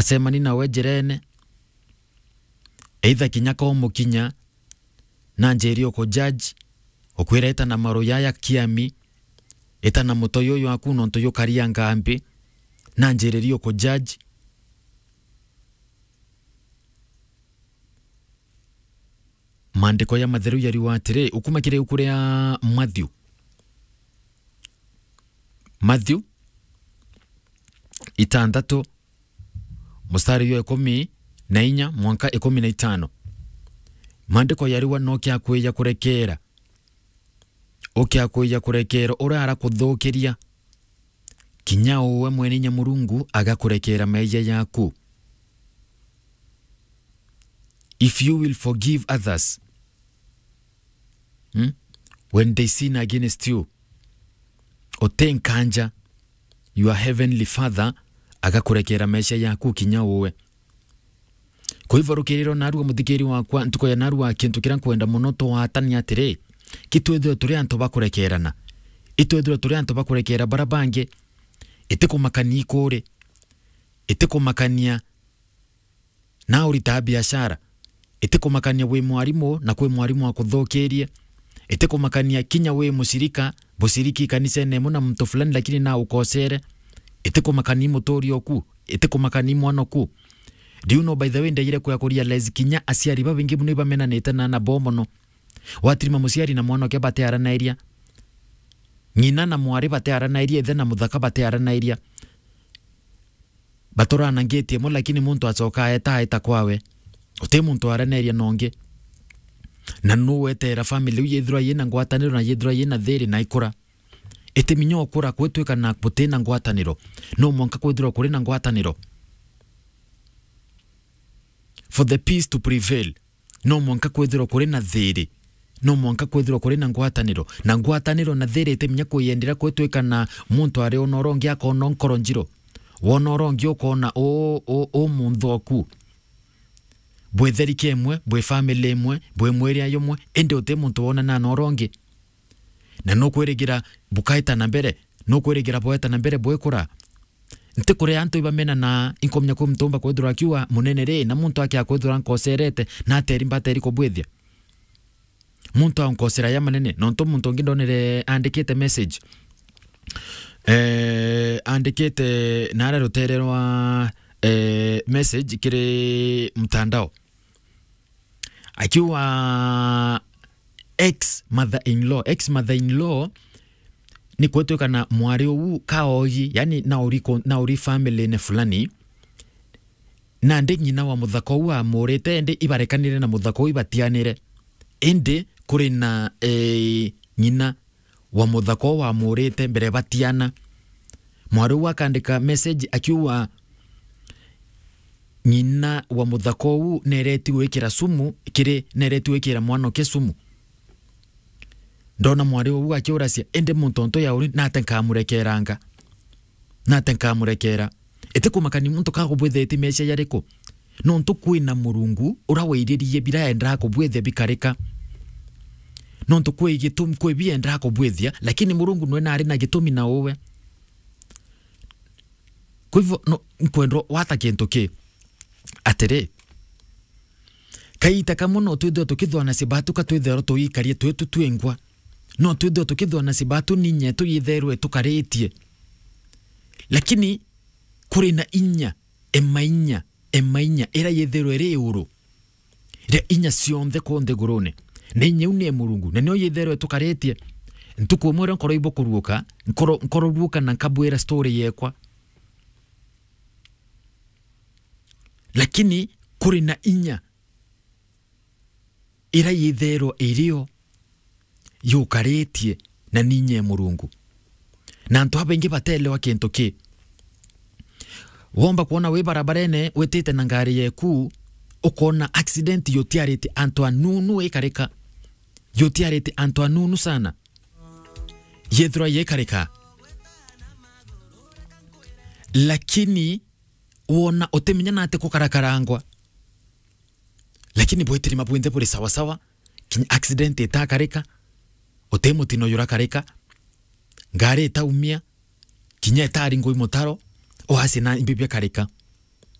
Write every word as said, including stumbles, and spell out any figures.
acemani nawe njirene, either kinya ka umukinya, na njiri uku judge, ukwira ita na maru yaya kiami, ita na mutoi uyu waku nontu yukaria ngambi, na njiri ri uku judge. Maandiko ya matheru yariuga atiri, ukuma kiri ibuku ria Matthew. Matthew itandatu, mustari jwa ikumi na inya mwanka ikumi na itano. Maandiko yariuga no kiakwija kurekeera. Ukiakwija kurekeera uria arakuthukiria, kinya uwe mwene inya Murungu agakurekeera meeyia yaku. If you will forgive others, hmm? When they sin against you, uti nkanja, your heavenly Father agakurekeera meeyia yaku kinya uwe. Kwa hivyo, rukiriro narua, muthikiri wakwa, ntuku ya narua, kintu kiria nkwenda mono twatanie atiri, ki twithirwe turi antu ba kurekeerana. Itwithirwe turi antu ba kurekeera bara bangi. Itikumakania ikuri. Itikumakania na urita biashara. Itikumakania wi mwarimu na kwi mwarimu akuthukirie. Itikumakania kinya wi mushirika, bushiriki kanisene imwe na muntu fulani, lakini na ukosere. Itikumakania muturi oku. Itikumakania mwana oku. Do you know, by the way, ndejire kwea kurealize kinya aciari babaingi mono ibamenanite na ana bao mono. Watirima muciari na mwanake batiaranairia. Ng'ina na mwari batiaranairia, ithe na muthaka batiaranairia. Baturana ngeti imwe, lakini muntu acoka aeta, aeta kwawe. Uti muntu aranairia na ungi. Na nu weteera family iu yithirwa yina ngwataniro na yithirwa yina thiiri na ikura? Iti minya ukura kwitwika na buti na ngwataniro. No mwanka kwithirwa kuri na ngwataniro. For the peace to prevail, no mwanka kwithirwa kuri na thiiri. No mwanka kwithirwa kuri na ngwataniro. Na ngwataniro na thiiri iti minya kwiyendera kwitwika na muntu ari ona uria ungi akona nkoro njiro. Wona uria ungi ukona u, u, u munthoku. Bwi therike imwe, bwi family imwe, bwi mwiri ayo umwe, indi uti muntu wonana na uria ungi. Na nukwirigira bukaeta na mbere, nukwirigira bweta na mbere bwikura. Nti kuri antu ibamena na inkomenya kwi muntu umba kwithirwa akiuga munene ri, na muntu akia kwithirwa nkoserete, na ateri mbateri kubwithia. Muntu aunkosera ya manene, nontu muntu ungi ndonere andikite message. Eh, andikite nare rutere rwa, eh, message kiri mtandao. Akiuga ex mother in law, ex mother in law ni kwitwika na mwari uu kaogi, yani na uri ko-, na uri family ne fulani. Nandi ng'ina wa muthaka uu amurite, indi ibarekanire na muthaka uu ibatianire. Indi kuri na, eh, ng'ina wa muthaka uu wamurite mbere batiana. Mwari uu akandika message akiuga, ng'ina wa muthaka uu nereti gwikira sumu kiri, nereti gwikira mwanake sumu. Ndona mwari uu akiuracia, indi muntu onto ya uri nate nkamurekeranga? Nate nkamurekera? Iti kumakania muntu kagubwithia iti mecia jariku? Nontu kwina Murungu uria wairirie bira endaa kubwithia bikarika. Nontu kwi gitumi, kwi bi endaa kubwithia, lakini Murungu nwe nari na gitumi na uwe. Kwa hivyo, no, nkwendwa wata kintu ki atiri, kaita kamwe no twithirwa tukithwana cibatu ka twitherwa tuikarie twitu twingwa. No twithirwa tukithwana cibatu ninye tuyitherwe tukaritie. Lakini kuri na inya, emainya, emainya, ira yitherwe iri iguru ria inya cionthe ku nthigurune. Na inya iu ni e Murungu, na nio yitherwe tukaritie. Ntuku imwe ria nkoro ibukuruuka, nkoro, nkoro ruuka na nkabwira story yekwa. Lakini kuri na inya ira yitherwa irio yukaritie na ninye Murungu. Na antu abaingi batelewa kintu ki. Womba kwona wi barabarene witite na ngari yeku, ukona accident yutiarite antu anunu ikarika. Yutiarite antu anunu sana. Yethirwa yekarika. Lakini wona utimenya nate kukarakarangwa. Lakini bwitirima bwinthe buri sawasawa, kinya accident itakarika, uti mutino jurakarika, ngari itaumia, kinya itaringwa i mutaro, oasi na imbi biakarika.